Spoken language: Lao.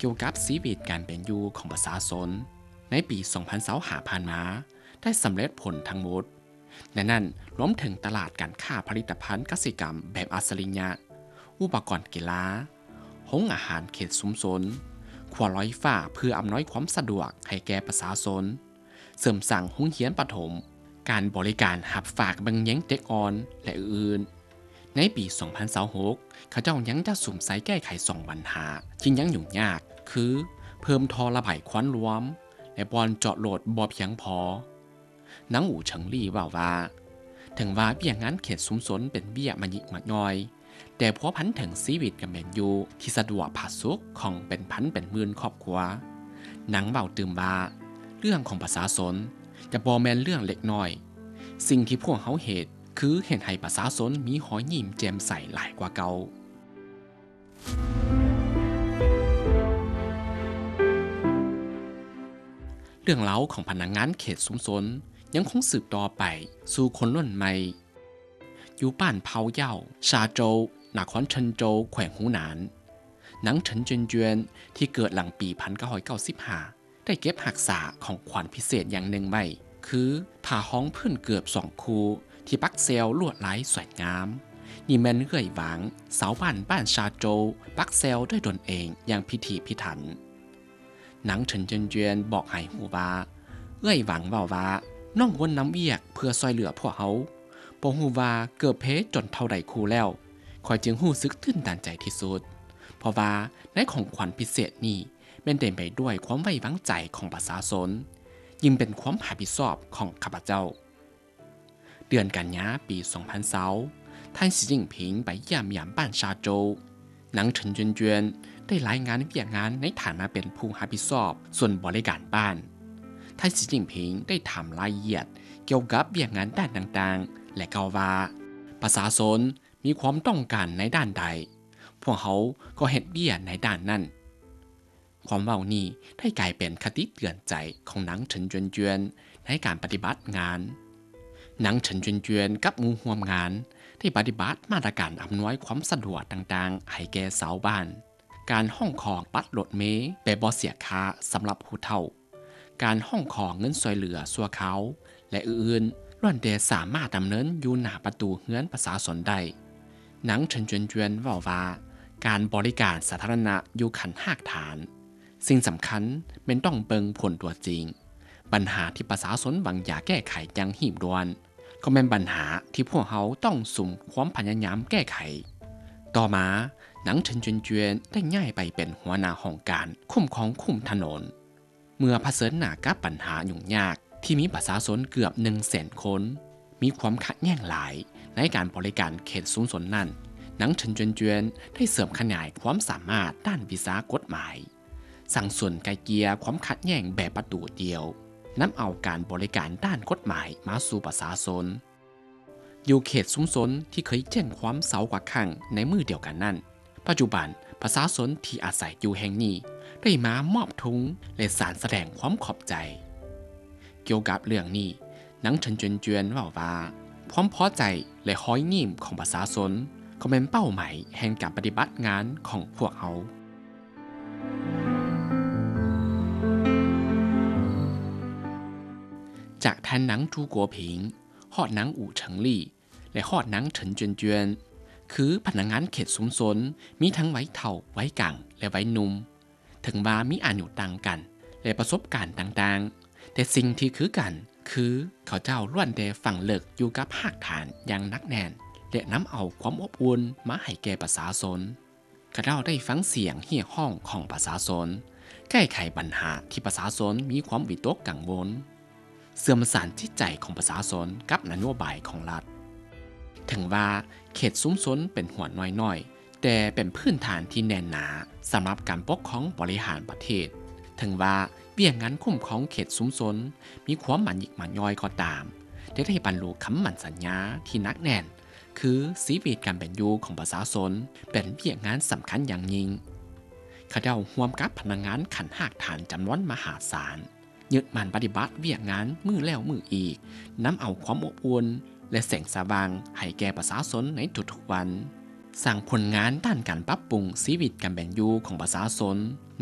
ກ່ຽວກັບຊີວິດການເປັນຢູ່ຂອງປະຊາຊົນໃນປີສອງພັນຊາວຫ້າຜ່ານມາ ໄດ້ສຳເລັດຜົນທັງໝົດ, ໃນນັ້ນລວມເຖິງຕະຫຼາດການຄ້າຜະລິດຕະພັນກະສິກຳແບບອັດສະລິຍະ, ອຸປະກອນກິລາ, ໂຮງອາຫານເຂດຊຸມຊົນ, ຂົວລອຍຟ້າເພື່ອອຳນວຍຄວາມສະດວກໃຫ້ແກ່ປະຊາຊົນ, ເສີມສ້າງໂຮງຮຽນປະຖົມ, ການບໍລິການຮັບຝາກເບິ່ງແຍງເດັກອ່ອນ ແລະ ອື່ນໆ. ໃນປີສອງພັນຊາວຫົກ ເຂົາເຈົ້າຍັງຈະສຸມໃສ່ແກ້ໄຂສອງບັນຫາທີ່ຍັງຫຍຸ້ງຍາກ ຄື ເພີ່ມທໍ່ລະບາຍຄວັນລວມ ແລະ ບ່ອນຈອດລົດບໍ່ພຽງພໍ. ນາງ ອູ່ເຖິງລີ້ ເວົ້າວ່າ ເຖິງວ່າວຽກງານເຂດຊຸມຊົນເປັນວຽກມາຍິກມາຍ່ອຍ, ແຕ່ພົວພັນເຖິງຊີວິດການເປັນຢູ່ທີ່ສະດວກຜາສຸກຂອງເປັນພັນເປັນໝື່ນຄອບຄົວ. ນາງເວົ້າຕື່ມວ່າ ເລື່ອງຂອງປະຊາຊົນຈະບໍ່ແມ່ນເລື່ອງເລັກນ້ອຍ. ສິ່ງທີ່ພວກເຮົາເຮັດ ຄືເຮັດໃຫ້ປະຊາຊົນມີຮອຍຍິ້ມແຈ່ມໃສຫຼາຍກວ່າເກົ່າ. ເລື່ອງລາວຂອງພະນັກງານເຂດຊຸມຊົນຍັງຄົງສືບຕໍ່ໄປສູ່ຄົນລຸ້ນໃໝ່. ຢູ່ບ້ານເຜົ່າເຍົ້າ ຊາໂຈວ ນະຄອນເຊີນໂຈວ ແຂວງຫູໜານ, ນາງ ເຖິນ ຈຽນຈວຽນ ທີ່ເກີດຫຼັງປີພັນເກົ້າຮ້ອຍເກົ້າສິບຫ້າ ໄດ້ເກັບຮັກສາຂອງຂວັນພິເສດຢ່າງໜຶ່ງໄວ້ ຄື ຜ້າຮອງພື້ນເກີບສອງຄູ່ທີ່ປັກແຊວລວດລາຍສວຍງາມ. ນີ້ແມ່ນເອື້ອຍຫວັງ ຊາວບ້ານບ້ານຊາໂຈວ ປັກແຊວດ້ວຍຕົນເອງຢ່າງພິຖີພິຖັນ. ນາງ ເຖິນ ຈຽນຈວຽນ ບອກໃຫ້ຮູ້ວ່າ ເອື້ອຍຫວັງເວົ້າວ່າ ນ້ອງວົນນຳວຽກເພື່ອຊ່ວຍເຫຼືອພວກເຮົາ. ບໍ່ຮູ້ວ່າເກີບເພຈົນເທົ່າໃດຄູ່ແລ້ວ, ຂ້ອຍຈຶ່ງຮູ້ສຶກຕື່ນຕັນໃຈທີ່ສຸດ, ເພາະວ່າໃນຂອງຂວັນພິເສດນີ້ ແມ່ນເຕັມໄປດ້ວຍຄວາມໄວ້ວາງໃຈຂອງປະຊາຊົນ, ຍິ່ງເປັນຄວາມຮັບຜິດຊອບຂອງຂ້າພະເຈົ້າ. ເດືອນກັນຍາປີສອງພັນຊາວ ທ່ານ ສີຈິ້ນຜິງ ໄປຢ້ຽມຢາມບ້ານຊາໂຈວ. ນາງ ເຖິນ ຈຽນຈວຽນ ໄດ້ລາຍງານວຽກງານໃນຖານະເປັນຜູ້ຮັບຜິດຊອບສ່ວນບໍລິການບ້ານ. ທ່ານ ສີຈິ້ນຜິງ ໄດ້ຖາມລາຍລະອຽດກ່ຽວກັບວຽກງານດ້ານຕ່າງໆ ແລະ ກ່າວວ່າ ປະຊາຊົນມີຄວາມຕ້ອງການໃນດ້ານໃດ, ພວກເຮົາກໍເຮັດວຽກໃນດ້ານນັ້ນ. ຄວາມເວົ້ານີ້ໄດ້ກາຍເປັນຄະຕິເຕືອນໃຈຂອງນາງ ເຖິນ ຈຽນຈວຽນ ໃນການປະຕິບັດງານ. ນາງ ເຖິນ ຈຽນຈວຽນ ກັບໝູ່ຮ່ວມງານ ໄດ້ປະຕິບັດມາດຕະການອຳນວຍຄວາມສະດວກຕ່າງໆໃຫ້ແກ່ຊາວບ້ານ, ການຮ້ອງຂໍບັດລົດເມແບບບໍ່ເສຍຄ່າສຳລັບຜູ້ເຖົ້າ, ການຮ້ອງຂໍເງິນຊ່ວຍເຫຼືອຊົ່ວຄາວ ແລະ ອື່ນໆ ລ້ວນແຕ່ສາມາດດຳເນີນຢູ່ໜ້າປະຕູເຮືອນປະຊາຊົນໄດ້. ນາງ ເຖິນ ຈຽນຈວຽນ ເວົ້າວ່າ ການບໍລິການສາທາລະນະຢູ່ຂັ້ນຮາກຖານ, ສິ່ງສຳຄັນແມ່ນຕ້ອງເບິ່ງຜົນຕົວຈິງ. ບັນຫາທີ່ປະຊາຊົນຫວັງຢາກແກ້ໄຂຢ່າງຮີບດ່ວນ ກໍແມ່ນບັນຫາທີ່ພວກເຮົາຕ້ອງສຸມຄວາມພະຍາຍາມແກ້ໄຂ. ຕໍ່ມາ, ນາງ ເຖິນ ຈຽນຈວຽນ ໄດ້ຍ້າຍໄປເປັນຫົວໜ້າຫ້ອງການຄຸ້ມຄອງຄຸ້ມຖະໜົນ. ເມື່ອຜະເຊີນໜ້າກັບບັນຫາຫຍຸ້ງຍາກທີ່ມີປະຊາຊົນເກືອບໜຶ່ງແສນຄົນ ມີຄວາມຂັດແຍ່ງຫຼາຍໃນການບໍລິການເຂດຊຸມຊົນນັ້ນ, ນາງ ເຖິນ ຈຽນຈວຽນ ໄດ້ເສີມຂະຫຍາຍຄວາມສາມາດດ້ານວິຊາກົດໝາຍ, ສ້າງສູນໄກ່ເກ່ຍຄວາມຂັດແຍ່ງແບບປະຕູດຽວ, ນຳເອົາການບໍລິການດ້ານກົດໝາຍມາສູ່ປະຊາຊົນ. ຢູ່ເຂດຊຸມຊົນທີ່ເຄີຍແຈ້ງຄວາມຊາວກວ່າຄັ້ງໃນມື້ດຽວກັນນັ້ນ, ປັດຈຸບັນປະຊາຊົນທີ່ອາໄສຢູ່ແຫ່ງນີ້ໄດ້ມາມອບທຸງ ແລະ ສານສະແດງຄວາມຂອບໃຈ. ກ່ຽວກັບເລື່ອງນີ້, ນາງ ເຖິນ ຈຽນຈວຽນ ເວົ້າວ່າ ຄວາມພໍໃຈ ແລະ ຮອຍຍິ້ມຂອງປະຊາຊົນ ກໍແມ່ນເປົ້າໝາຍແຫ່ງການປະຕິບັດງານຂອງພວກເຮົາ. ຈາກທ່ານນາງ ຈູ ກົວຜິງ ຮອດນາງ ອູ່ເຖິງລີ້ ແລະ ຮອດນາງ ເຖິນ ຈຽນຈວຽນ ຄືພະນັກງານເຂດຊຸມຊົນ ມີທັງໄວເຖົ້າ, ໄວກາງ ແລະ ໄວໜຸ່ມ. ເຖິງວ່າມີອາຍຸຕ່າງກັນ ແລະ ປະສົບການຕ່າງໆ, ແຕ່ສິ່ງທີ່ຄືກັນ ຄືເຂົາເຈົ້າລ້ວນແຕ່ຝັງເລິກຢູ່ກັບຮາກຖານຢ່າງໜັກແໜ້ນ ແລະ ນຳເອົາຄວາມອົບອຸ່ນມາໃຫ້ແກ່ປະຊາຊົນ. ເຂົາເຈົ້າໄດ້ຟັງສຽງຮຽກຮ້ອງຂອງປະຊາຊົນ, ແກ້ໄຂບັນຫາທີ່ປະຊາຊົນມີຄວາມວິຕົກກັງວົນ, ເຊື່ອມສານຈິດໃຈຂອງປະຊາຊົນກັບນະໂຍບາຍຂອງລັດ. ເຖິງວ່າເຂດຊຸມຊົນເປັນຫົວໜ່ວຍນ້ອຍ, ແຕ່ເປັນພື້ນຖານທີ່ແໜ້ນໜາສຳລັບການປົກຄອງບໍລິຫານປະເທດ. ເຖິງວ່າວຽກງານຄຸ້ມຄອງເຂດຊຸມຊົນມີຄວາມມາຍິກມາຍ່ອຍກໍຕາມ, ແຕ່ໄດ້ບັນລຸຄຳໝັ້ນສັນຍາທີ່ໜັກແໜ້ນ ຄືຊີວິດການເປັນຢູ່ຂອງປະຊາຊົນເປັນວຽກງານສຳຄັນຢ່າງຍິ່ງ. ເຂົາເຈົ້າຮ່ວມກັບພະນັກງານຂັ້ນຮາກຖານຈຳນວນມະຫາສານ ຍຶດໝັ້ນປະຕິບັດວຽກງານມື້ແລ້ວມື້ອີກ, ນຳເອົາຄວາມອົບອຸ່ນ ແລະ ແສງສະຫວ່າງໃຫ້ແກ່ປະຊາຊົນໃນທຸກໆວັນ, ສ້າງຜົນງານດ້ານການປັບປຸງຊີວິດການເປັນຢູ່ຂອງປະຊາຊົນ